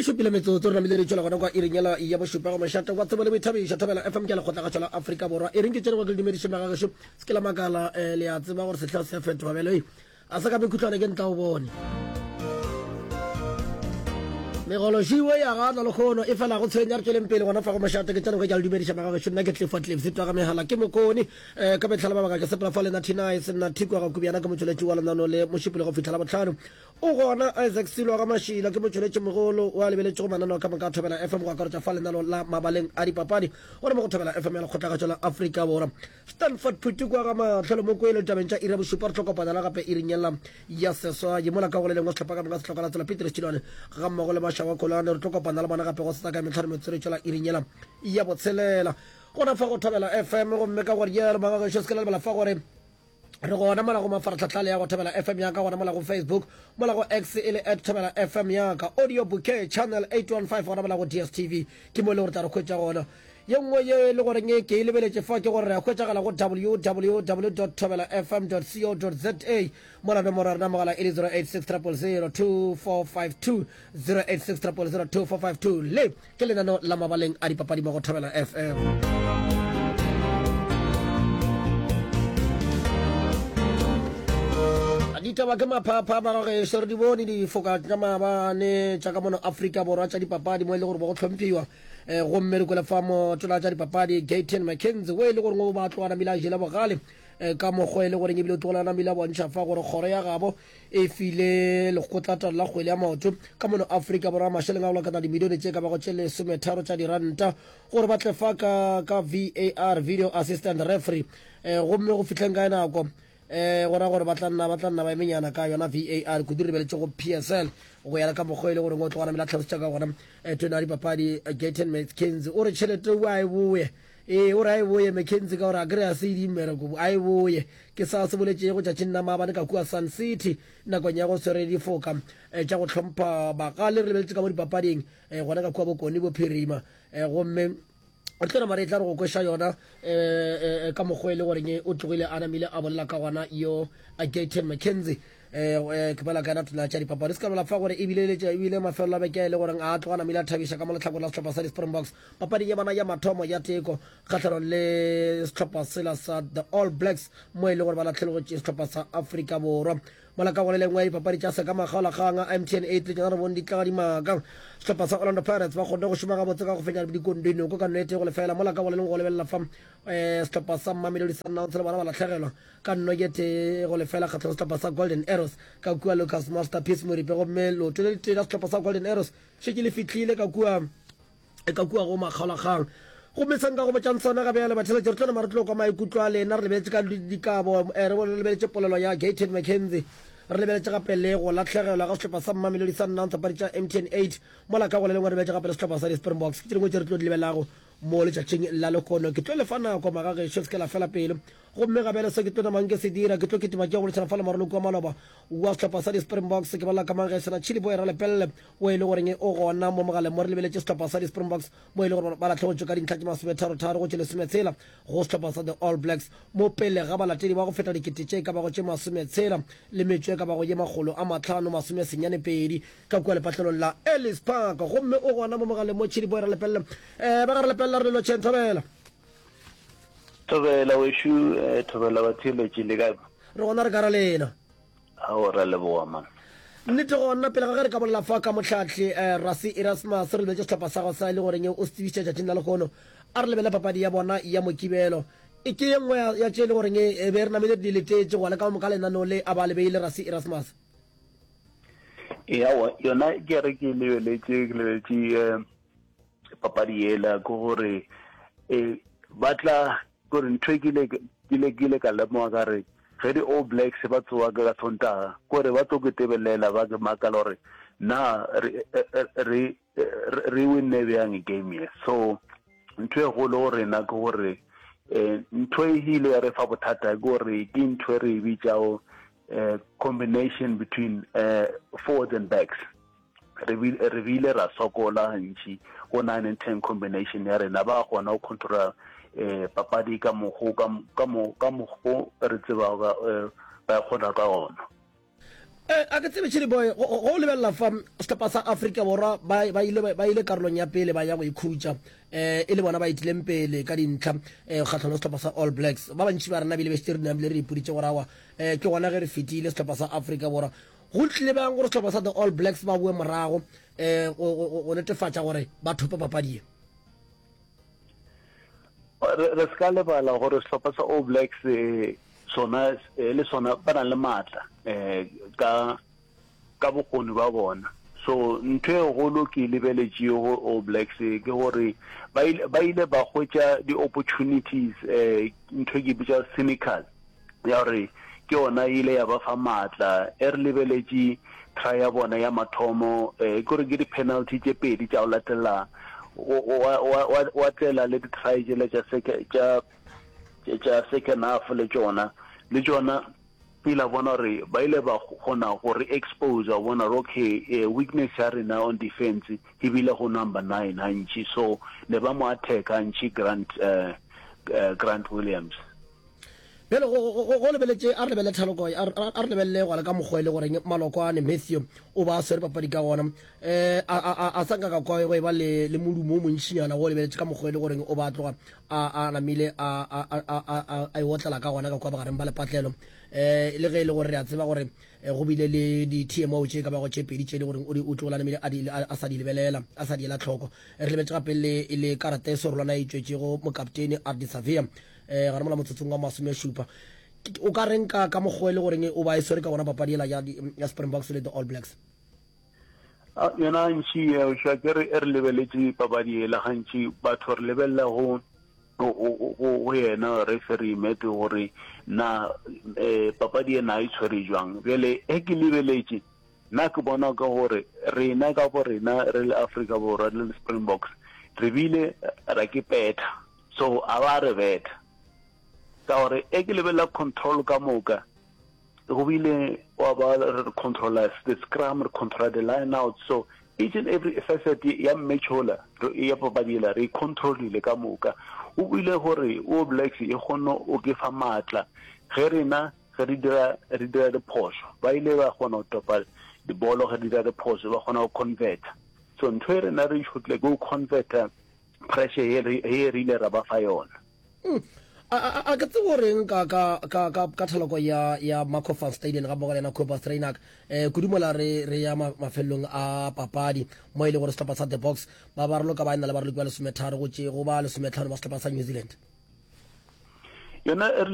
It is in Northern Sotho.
E šupile metsotso re namile re tšwela gona kwa iring yela ya bošupa go mošate wa tsebo le boithabišo Thobela FM ke lekgotlakgašo la Afrika Borwa. E reng ke tšere go ke le dumediše magagešo se ke la makala eh, le a tseba gore sehla se a fetoga bjale ei a se ka mekhutlwane ke ntla o bone. Megološiwe ya gana lekgono e fela go tshwenya re tšweleng pele gona fa go mošate ke tšere go ke le dumediša magagešo nna ke Clifford Cliffs twa ga megala ke mokone eh, ka metlhala mabaka ke sepela fa lena Thinae senna Thikwa ga Kubiana ke motšweletši wa lenano le mošupologo go fihla la bohlano O gona Isaac Silo ga Mašila ke motšweletši mogolo wa lebeletšego mananeo ka moka a Thobela FM go akaretša fa lenaneo la mabaleng a dipapadi gona mo go Thobela FM ya Lekgotlakgatšo la Afrika Borwa. Stanford Phuti kwa ga Mahlolo Mokwele ditabeng tša iri ya bošupa re tlo kopanela gape iring yela ya seswai mola ka go le lengwe sehlopha ka moka se hloka la tsela Petrus Tšilwane ga mmogo le Mašawa Kolane re tlo kopana le bona gape go setsa ka metlhano metsotso e tšwela iring yela ya botshelela gona fa go Thobela FM gomme ka gore yelo magagešo se ke la lebala fa gore Re gona mola go mafaratlhatlha le ya go Thobela FM ya ka, gona mola go Facebook, mola go X e le at Thobela FM ya ka, Audio Bouquet Channel 815 gona mola go DSTV ke mo e le gore tla re hwetša gona. Ye nngwe ye e le goreng ke e lebeletše fa ke gore re a hwetšagala go www.thobelafm.co.za mola nomoro ya rena mogala e le 086 000 2452 086 000 2452 le Ke lenaneo la mabaleng a dipapadi mo go Thobela FM. Ditaba ke maphapha magagešo re di bone difoka tša maabane tša ka mono Afrika Borwa tša dipapadi mo e le gore bo go tlhomphiwa eh, gomme re kwele fa motona tša dipapadi Gayton McKenzie o e le goreng o ba tloga namile a jele bogale eh, ka mokgwa e le goreng ebile o tlogela namile a bontšha fa gore kgoro ya gabo e file lekgotlatalo la kgwele ya maoto ka mono Afrika Borwa mašeleng a go lekana dimilione tše ka bago tše lesometharo tša diranta gore ba tle fa ka, ka VAR, Video Assistant Referee, eh, gomme go fihleng ka nako eh, go ra gore ba tla nna ba tla nna ba emenyana ka yona VAR kudu re beletše go PSL go ya le ka mokgwa e le gore o tloga namela tlhalosetša ka gona eh, tona ya dipapadi eh, Gayton McKenzie o re tšhelete o a e boye Ee, o re a e boye, McKenzie, ka gore a kry a se e mmereko, a e boye. Ke sa se boletšego tšatšing la maabane ka kua Sun City, nakong ya go swere difoka eh, tša go hlompha bagale, re lebeletše ka mo dipapading eh, gona ka kua Bokone Bophirima. Eh, gomme re tlo nama re tla re go kweša yona ka mokgwa e le goreng o tlogile a namile a bolela ka gona yo Gayton McKenzie. Eh, ke bolela ka yena tona tša dipapadi se ka bolela fa gore ebile ebile mafelelo a beke e le goreng a tloga namile a thabiša ka mo letlhakore la sehlopha sa di-Springboks papading ya bona ya mathomo ya teko kgahlanong le sehlopha sela sa the All Blacks mo e le gore ba latlhelogotše sehlopha sa Afrika Borwa mola ka go le lengwe ya dipapadi tša seka makgaolakgang a MTN 8 le tšona re bone di tla dimaka sehlopha sa Orlando Pirates ba kgonne go šoma gabotse ka go fenya dikondinoko ka nnete go lefela mola ka go le lengwe go lebelela fa um sehlopha sa Mamelodi Sundowns le bona ba latlhegelwa ka nno ye tee go lefela kgahlong sehlopha sa Golden Arrows ka kua Lucas Masterpiece Moripe gomme leoto le letee la sehlopha sa Golden Arrows šetše le fihlile ka kua ka kua go makgaolakgang. Gomme se nka go botšang sona ga bjale batheletši re tlo nama re tlo kwa maikutlo a lena re lebeletše ka dikabo eh, re lebeletše polelo ya Gayton McKenzie re lebeletše gape le go lahlegelwa ga sehlopha sa Mamelodi Sundowns papadi tša MTN 8 mola ka go le lengwe re lebeletše gape le sehlopha sa di-Springboks ke tše dingwe tše re tlo di lebelelago mo letšatšing la lehono. Ke tlo le fa nako magagešo se ke la fela pelo. Gomme ga bjale se ke tlo namang ke se dira, ke tlo kitima ke ya go boledišana fa le moraloki wa maloba wa sehlopha sa di-Springboks, ke bolela ka Mangesana Chili Boy Ralepelle, o e le goreng o gona mo mogaleng mo re lebeletše sehlopha sa di-Springboks mo e le gore ba lahlegetšwe ka dintlha tše masometharotharo go tše lesometshela go sehlopha sa the All Blacks mo pele ga balatedi ba go feta dikete tše e ka bago tše masometshela le metšo e ka bago ye makgolo a mahlano masomesenyanepedi ka kua lepatlelong la Ellis Park. Gomme o gona mo mogaleng mo Chili Boy Ralepelle. Um ba ga Ralepelle re le lotšheng thobela. Thobela wešo, eh, thobela batheeletši le kae? Re gona re ka ra lena. Ao ra leboga man. Nnete gona pele ga ge re ka bolela fa ka mohlahli eh, Rassie Erasmus re lebetše sehlopha sa go sa e le goreng o se tsebišitše tšatšing la lehono. A re lebele papadi ya bona ya Mokibelo. E ke ye nngwe ya tše e le goreng e be re namile re di letetše go ya le ka moka lenaneo le a ba le beile Rassie Erasmus. Ee, aowa yona ke re ke lebeletše ke lebeletše eh, papadi yela ke gore eh, ba tla gore ntho e ke ile ke ile ka lemoga ka re ge di All Blacks ba tsoga ka Sontaga kore ba tlo ke tebelela ba ke makala gore na re re re winne bjang game ye. So ntho e golo go rena ke gore um ntho e ile ya re fa bothata ke gore ke ntho e re e bitšago um combination between um forwards and backs. Re re bile ra sokola gantši go 9 and 10 combination ya rena, ba kgona go controla um papadi ka mokgo ka mokgo re tsebago ba e kgona ka gona. Eh, a ke tsebe Chili Boy, go o lebelela fa sehlopha sa Afrika Borwa ba ba ile ba ile karolong ya pele ba ya go ikhutša eh e le bona ba itileng pele ka dintlha eh kgatlhanong le sehlopha sa All Blacks. Ba bantši ba rena bile be šetše re namile re ipoditše gore awa eh ke gona ge re fetile sehlopha sa Afrika Borwa. Go tlile bjang gore sehlopha sa the All Blacks ba boe morago eh go go go netefatša gore ba thope papadi ye? Re re se ka lebala gore sehlopha sa All Blacks eh, sona eh, le sona ba na le maatla eh, ka ka bokgoni ba bona. So ntho e golo ke e lebeletšego go All Blacks eh, ke gore ba ile ba ile ba hwetša di-opportunities eh, ntho e ke e bitša cynical ya gore ke yona e ile ya ba fa maatla. E re lebeletše try ya bona ya mathomo eh, ke gore ke di-penalty tše pedi tša go latelela wa tlela le di-try tšela tša tša tša second half le tšona le tšona ile bona gore ba ile ba kgona go re expose wa bona gore okay eh, weakness ya rena on defense e bile go number 9 gantši so ne ba mo attack gantši Grant uh, uh, Grant Williams. Bjale go, go, go, go lebeletše, a re lebelele thaloko, a re, a re lebelele gona ka mokgwa e le goreng Malokwane Matthew o ba a swere papadi ka gona. Um a, a, a, a sa nka ka kwa go e ba le, le modumo o montšinyana go lebeletše ka mokgwa e le goreng o ba a tloga a, a namile a, a, a, a, a, a e otlela ka gona ka kwa bogareng ba lepatlelo. Um le ge e le gore re a tseba gore eh, go bile le di-TMO tše ka bago tše pedi tše e le goreng o di o tlogola namile a, di, a, a sa di lebelela, a sa di ela tlhoko. Re lebeletše gape le, le karata e serolwana e tšwetšego mokaptene Ardie Savea. Eh, gare mola motsotsong wa masomešupa. O ka reng ka ka mokgwa e le goreng o ba e swere ka gona papadi ela ya, ya Springboks le the All Blacks? Yona gantši eh, ke re e re lebeletše papadi ela gantši batho re lebelela go go yena referee Matt gore na eh, papadi ena e tshwere jwang. Bjale e ke lebeletše nna ke bona ka gore rena ka bo rena re le Afrika Borwa le le Springboks re bile ra ke petha So a ba re betha. Ka gore e ke lebelela control ka moka, go bile wa ba re controla the scrum, re controla the line out. So each and every facet ya mmetšhola ya papadi ela re e controlile ka moka. O bile gore All Blacks e kgone o ke fa maatla ge rena ge re dira re dira diphošo. Ba ile ba kgona go topa dibolo ge re dira diphošo, ba kgona go converta. So ntho e rena re e šotlile ke go converta pressure ye re ye re ile ra ba fa yona. Mm. A, a, a ke tsebe o reng ka, ka, ka, ka, ka thaloko ya, ya Marco van Staden ga mmogo le yena Cobus Reinach eh, kudu mola re, re ya ma, mafelelong a papadi mo e le gore sehlopha sa The Boks ba ba raloka ba ena le baraloki ba lesometharo go tše go ba lesometlhano ba sehlopha sa New Zealand. Yona e re.